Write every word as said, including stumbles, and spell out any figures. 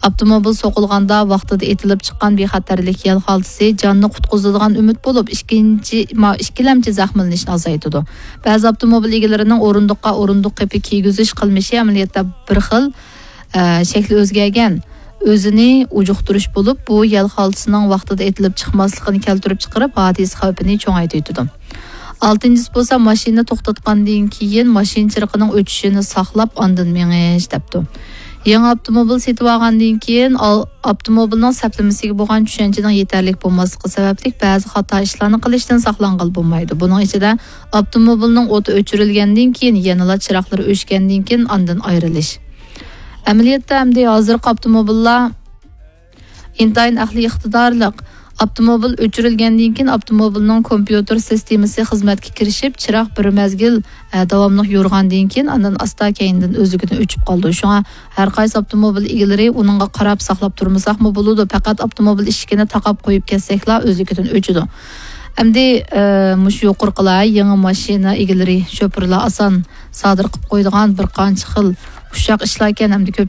ئاپتوموبىل سوقۇلغاندا ۋاقتىدا ئېتىلىپ چىققان بىخەتەرلىك يەل خالتىسى جاننى قۇتقۇزىدىغان ئۈمىد بولۇپ، ئىككىنچى، ما-، ئىككىلەمچى زەخىملىنىشنى ئازايتىدۇ. بەزى ئاپتوموبىل ئىگىلىرىنىڭ ئورۇندۇققا ئورۇندۇق قېپى كىيگۈزۈش قىلمىشى ئەمەلىيەتتە بىر خىل، ئە، شەكلى ئۆزگەرگەن، ئۆزىنى ئۇجۇقتۇرۇش بولۇپ، بۇ يەل خالتىسىنىڭ ۋاقتىدا ئېتىلىپ چىقماسلىقىنى كەلتۈرۈپ چىقىرىپ، ھادىسە خەۋپىنى چوڭايتىۋېتىدۇ. ئالتىنچىسى بولسا، ماشىنىنى توختاتقاندىن كېيىن ماشىنا چىرىقىنىڭ ئۆچۈشىنى ساقلاپ، ئاندىن مېڭىش، دەپتۇ. يېڭى ئاپتوموبىل سېتىۋالغاندىن كېيىن، ئال-، ئاپتوموبىلنىڭ سەپلىمىسىگە بولغان چۈشەنچىنىڭ يېتەرلىك بولماسلىقى سەۋەبلىك، بەزى خاتا ئىشلارنى قىلىشتىن ساقلانغىلى بولمايدۇ. بۇنىڭ ئىچىدە، ئاپتوموبىلنىڭ ئوتى ئۆچۈرۈلگەندىن كېيىن، يەنىلا چىراغلىرى ئۆچكەندىن كېيىن ئاندىن ئايرىلىش. ئەمەلىيەتتە، ئەمدى ھازىرقى ئاپتوموبىللار ئىنتايىن ئەقلىي ئىقتىدارلىق. ئاپتوموبىل ئۆچۈرۈلگەندىن كېيىن، ئاپتوموبىلنىڭ كومپيۇتېر سىستېمىسى خىزمەتكە كىرىشىپ، چىراغ بىر مەزگىل، ئە، داۋاملىق يورۇغاندىن كېيىن، ئاندىن ئاستا كەينىدىن ئۆزلۈكىدىن ئۆچۈپ قالىدۇ. شۇڭا ھەر قايسى ئاپتوموبىل ئىگىلىرى ئۇنىڭغا قاراپ ساقلاپ تۇرمىساقمۇ بولىدۇ. پەقەت ئاپتوموبىل ئىشىكىنى تاقاپ قويۇپ كەتسەكلا، ئۆزلۈكىدىن ئۆچىدۇ. ئەمدى، ئە، مۇشۇ يۇقىرىقىلار يېڭى ماشىنا ئىگىلىرى، شوپۇرلار ئاسان سادىر قىلىپ قويىدىغان بىر قانچە خىل ئۇششاق ئىشلاركەن، ئەمدى كۆپ